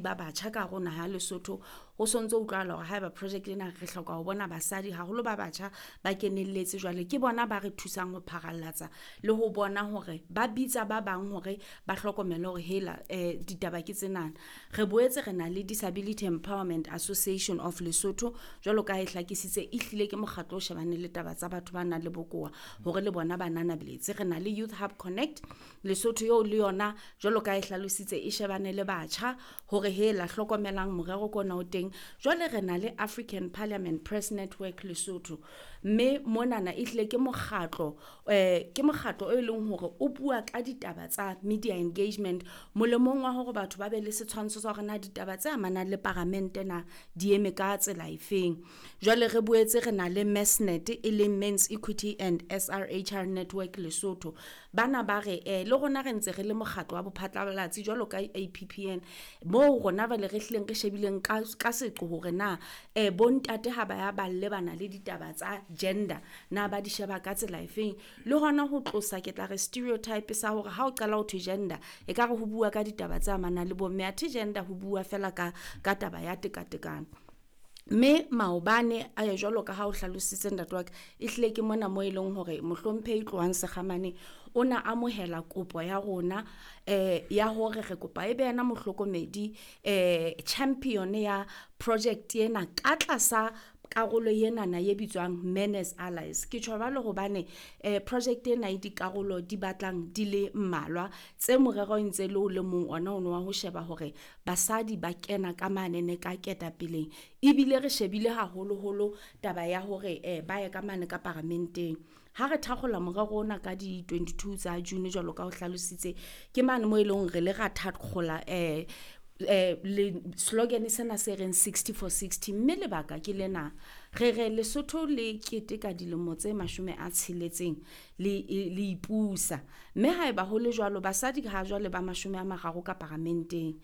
Ba batjha ka hare ho naha ya Lesotho. Ho sontso utlwahala hore haeba project ena re hloka ho bona basadi haholo ba batjha ba kenelletse. Jwale ke bona ba re thusang ho pharallatsa le ho bona hore ba bitsa ba bang hore ba hlokomele hore hela ditaba ke tsenana. Re boetse re na le Disability Empowerment Association of Lesotho, jwalo ka ha e hlakisitse, ehlile ke mokgatlo o shebaneng le taba tsa batho ba nang le bokowa hore le bona ba nanabeletse. Re na le Youth Hub Connect Lesotho eo le yona jwalo ka ha e hlalositse e shebane le batjha hore hela hlokomelang morero ke ona o teng. Jwale re na le African Parliament Press Network Lesotho, mme monana ehlile ke mokgatlo ke mokgatlo e leng hore o bua ka ditaba tsa media engagement molemong wa hore batho ba be le setshwantsho sa hore na ditaba tse amanang le paramente na di eme ka tsela efeng. Jwale re boetse re na le MESNET, e leng Men's Equity and SRHR Network Lesotho. Bana ba re le rona re ntse re le mokgatlo wa bophatlalatsi jwalo ka APPN, moo rona jwale re hlileng re shebileng ka seqo hore na bontate ha ba ya ba lebana le ditaba tsa gender na ba di sheba ka tsela efeng, le hona ho tlosa ke tla re stereotype sa hore ha o qala ho thwe gender e ka re ho bua ka ditaba tse amanang le bomme, athe gender ho bua fela ka taba ya tekatekano. Mme maobane a jwalo ka ha o hlalositse ntate wa ka, ehlile ke mona mo e leng hore mohlomphehi Tlohang Sekgamane o na amohela kopo ya rona ya hore re kopa ebe yena mohlokomedi, champion ya project ena ka tlasa karolo enana e bitswang Men as Allies. Ke tjho jwalo hobane project ena e dikarolo di batlang di le mmalwa tse morero e ntse le o le mong ona ono wa ho sheba hore basadi ba kena ka manene ka ketapeleng, ebile re shebile haholoholo taba ya hore ba ye ka mane ka paramenteng. Ha re thakgola morero ona ka di 22 tsa June jwalo ka o hlalositse, ke mane mo e leng re le ra thakgola le slogan sena se reng 60 for 60. Mme lebaka ke lena, re re Lesotho le keteka dilemo tse 60 le ipusa, mme haeba ho le jwalo basadi ha jwale ba 30 ka paramenteng.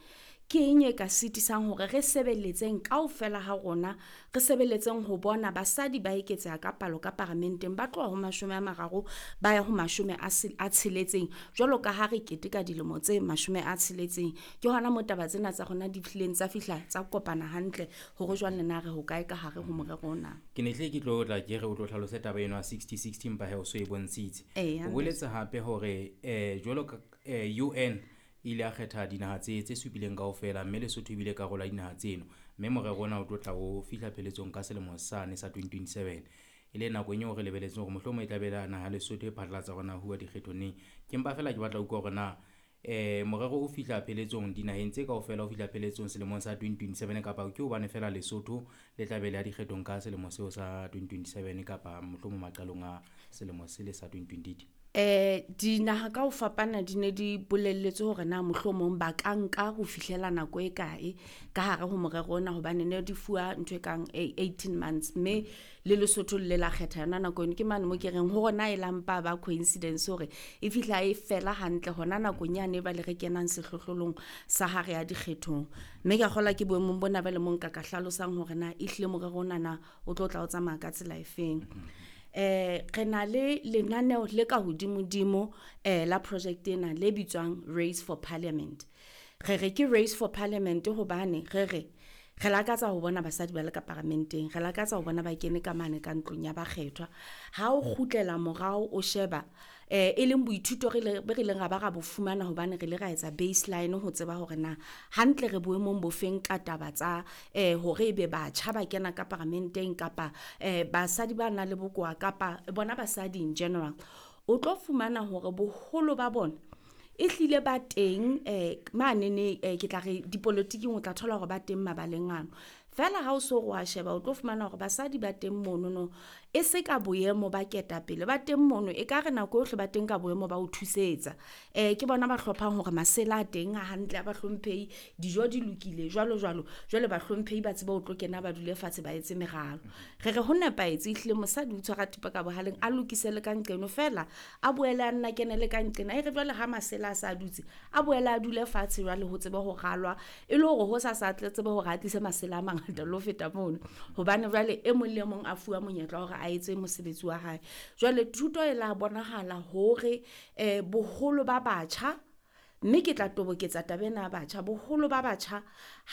Ke eng e ka sitisang hore re sebeletseng kaofela ha rona, re sebeletseng ho bona basadi ba eketseha ka palo ka paramenteng, ba tloha ho 30 ba ya ho 60 jwalo ka ha re keteka dilemo tse 60. Ke hona mo taba tsena tsa rona di hlileng tsa fihla tsa kopana hantle hore jwale na re hokae ka hare ho morero ona. Ke ne hle ke tlo tla ke re o tlo hlalose taba eno ya 60-60, empa he o so e bontshitse. Eya. O boletse hape hore jwalo ka UN ile ya kgetha dinaha tse supileng kaofela, mme Lesotho ebile karolo ya dinaha tseno, mme morero ona o tlo tla o fihla pheletsong ka selemo sane sa 2027, e le nakong eo re lebeletseng hore mohlomong e tla be le naha Lesotho e phatlalatsa hore na huwa dikgethong neng. Ke mpa fela ke batla ho utlwa hore na morero o fihla pheletsong dinaheng tse kaofela o fihla pheletsong selemong sa 2027, kapa ke hobane fela Lesotho le tla be le ya dikgethong ka selemo seo sa 2027, kapa mohlomong maqalong a selemo sele sa 2028? Dinaha ka ho fapana di ne di bolelletse hore na mohlomong ba ka nka ho fihlela nako e kae ka hare ho morero ona, hobane ne di fuwa ntho e kang 18 months, mme le Lesotho le la kgetha yona nako eno. Ke mane mo ke reng ho rona e lampa ba coincidence hore e fihla e fela hantle hona nakong yane ba le re kenang sehlohlolong sa hare ya dikgethong. Mme ke a kgolwa ke boemong bona ba le mong ka hlalosang hore na ehlile morero ona na o tlo tla o tsamaya ka tsela efeng. Re na le lenaneo le ka hodimodimo la project ena le bitswang Race for Parliament. Re re ke Race for Parliament hobane re re re lakatsa ho bona basadi ba le ka paramenteng, re lakatsa ho bona ba kene ka mane ka ntlong ya bakgethwa. Ha o kgutlela morao o sheba e leng boithuto re le re leng ra ba ra bo fumana hobane re le ra etsa baseline ho tseba hore na hantle re boemong bofeng ka taba tsa hore ebe batjha ba kena ka paramenteng kapa basadi ba nang le bokowa kapa bona basadi in general. O tlo fumana hore boholo ba bona ehlile ba teng manene ke tla re dipolotiking, o tla thola hore ba teng mabaleng ano. Fela ha o so re wa sheba o tlo fumana hore basadi ba teng monono e se ka boemo ba ketapele, ba teng mono e ka re nako yohle ba teng ka boemo ba ho thusetsa. Ke bona ba hlophang hore masela a teng a hantle a bahlomphehi, dijo di lokile jwalo jwalo. Jwale bahlomphehi ba tsebe ho tlo kena ba dule fatshe ba etse meralo. Re re ho nepahetse ehlile mosadi o tshwara thipa ka bohaleng a lokise le ka nqeno, fela a boele a nna kene le ka nqena. E re jwale ha masela a sa dutse a boele a dule fatshe jwale ho tsebe ho ralwa, e le hore ho sa sa tle tsebe hore a tlise masela a mangata le ho feta mono, hobane jwale e mong le e mong a fuwa monyetla wa hore a etse mosebetsi wa hae. Jwale thuto e la bonahala hore boholo ba batjha Mme ke tla toboketsa taba ena ya batjha. Boholo ba batjha